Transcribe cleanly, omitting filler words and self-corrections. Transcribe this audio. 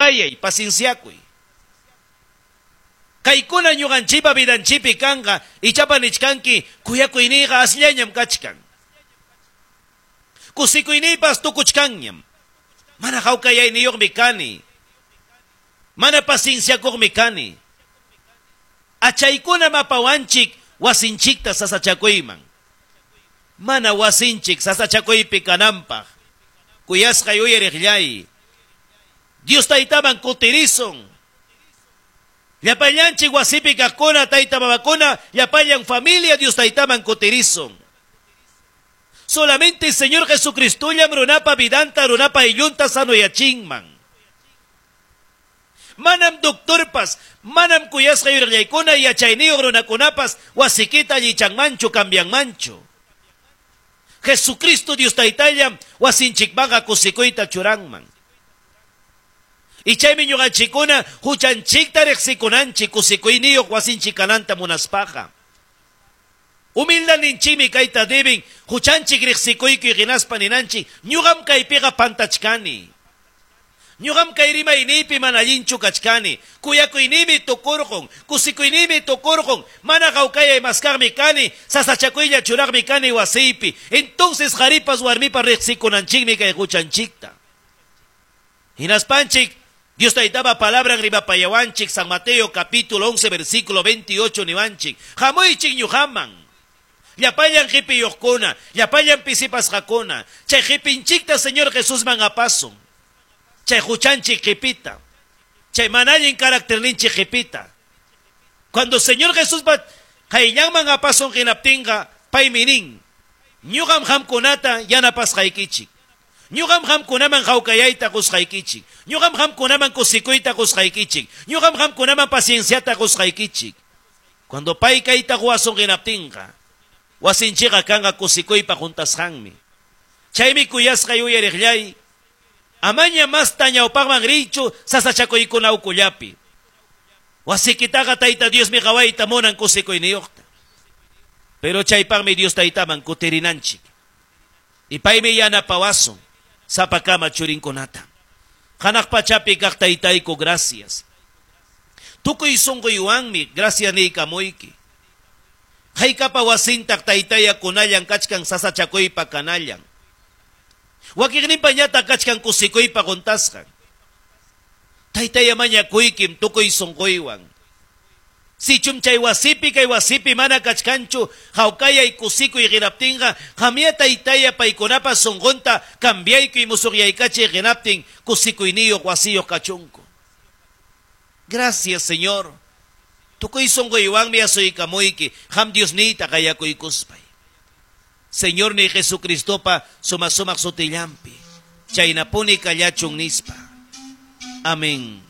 Hawkayay, pacienciakuy. Kaykuna ñuqanchikpa vidanchikpi kanqa, ichapa nichkanki kuyakuyniyqa asllañam kachkan. Kusikuyniypas tukuchkanñam. Mana hawkayayniyuqmi kani. Mana pacienciakuqmi kani. Achaykunam apawanchik wasinchikta sasachakuyman. Mana wasinchik sasachakuypi kananpaq. Kuyasqay uyariqllay. Dios Taytaman kutirisun. Llapallanchik wasipi kaqkuna, tayta mamakuna, llapallan familia Dios Taytaman kutirisun. Solamente Señor Jesucristollam runapa vidanta, runapa ayllunta sanoyachinman. Manam doctorpas, manam kuyasqa yuriqllaykuna yachayniyuq runakunapas wasikita allichanmanchu, cambianmanchu. Jesucristo Dios Taytallam wasinchikmanqa kusikuyta churanman. Y chaymi ñuqanchikkuna huchanchikta riqsikunanchik kusikuyniyuq wasinchik kananta munaspaqa. Humildaninchikmi kayta deben huchanchik riqsikuykuy hinaspa ninanchik ñuqam kaypiqa pantachkani. Ñuqam kay rimayniypi mana allinchu kachkani. Kuyakuyniymi tukurqun, kusikuyniymi tukurqun, mana hawkayay maskaqmi kani, sasachakuylla churaqmi kani wasiypi. Entonces qaripas warmipas riqsikunanchikmi kay huchanchikta. Hinaspanchik Dios Taytapa palabran rimapayawanchik San Mateo capítulo 11 versículo 28 niwanchik. Hamuychik ñuqaman. Llapallan qipiyuqkuna, llapallan pisipasqakuna, chay qipinchikta Señor Jesusman apasun. Chay huchanchik qipita. Chay mana allin carácterninchik qipita. Cuando Señor Jesús va qayllanman apasun hinaptinqa, paymi nin, ñuqam qamkunata yanapasqaykichik. Ñuqam qamkunaman hawkayayta qusqaykichik. Ñuqam qamkunaman kusikuyta qusqaykichik. Ñuqam qamkunaman pacienciata qusqaykichik. Cuando pay kayta quwasun hinaptinqa, wasinchikqa kanqa kusikuypa juntasqanmi. Chaymi kuyasqay uyariqllay, amaña masta ñawpaqman riychu sasachakuykuna ukullapi. Wasikitaqa Tayta Diosmi qawayta munan kusikuyniyuqta. Pero chaypaqmi Dios Taytaman kutirinanchik. Y paymi yanapawasun sapakama churinkunata. Hanaq pachapi kaq Taytayku, gracias. Tukuy sunquywanmi gracias niykamuyki. Haykapa wasintaq Taytaya kunallan kachkan sasachakuypa kanallan. Wakiqninpa ñataq kachkan kusikuypa quntasqan. Taytaya mañakuykim tukuy sunquywan. Sichum chay wasipi kay wasipi mana kachkanchu hawkayay kusikuy qinaptinqa qamya Taytaya paykunapa sunqunta cambiaykuy musuqyaykachiy qinaptin kusikuyniyuq wasiyuq kachunku. Gracias, Señor. Tukuy sunquywanmi asuykamuyki qam Diosniyta qayakuykuspay. Señor ni Jesucristopa suma sumaq sutillampi. Chaynapuni kallachun nispa. Amén.